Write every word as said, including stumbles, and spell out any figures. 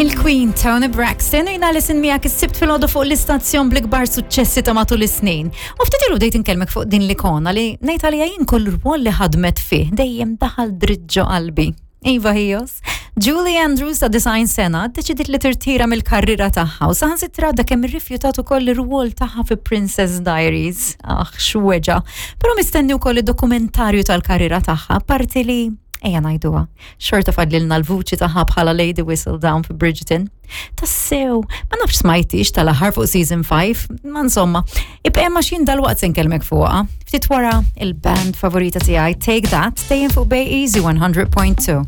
Il-Queen Toni Braxton u jiena Alison miegħek is-Sibt filgħodu fuq l-istazzjon bl-ikbar suċċessi ta' matul is-snin. U ftit ilu bdejt inkellmek fuq din l-ikona li ngħid għalija jien kull rwol li ħadmet fih dejjem daħal dritt ġo qalbi. Iva ħijos. Julie Andrews ta' disgħin sena deċidiet li tirtira mill-karriera tagħha u saħansitra da kemm irrifjutat ukoll ir-rwol tagħha fi Princess Diaries. Ah, x'weġgħa. Però mistenni wkoll id-dokumentarju tal-karriera tagħha, parti li ejja ngħiduha. Xorta fadlilna l-vuċi tagħha bħala Lady Whistledown fi Bridgerton. Tassew, ma nafx smajtix tal-aħħar fuq season five, ma insomma, ibqa' ma xin dal-waqt se nkellmek fuqha. Ftit wara il-band favorita tiegħi Take That, dejjem fuq Bay Easy one hundred point two.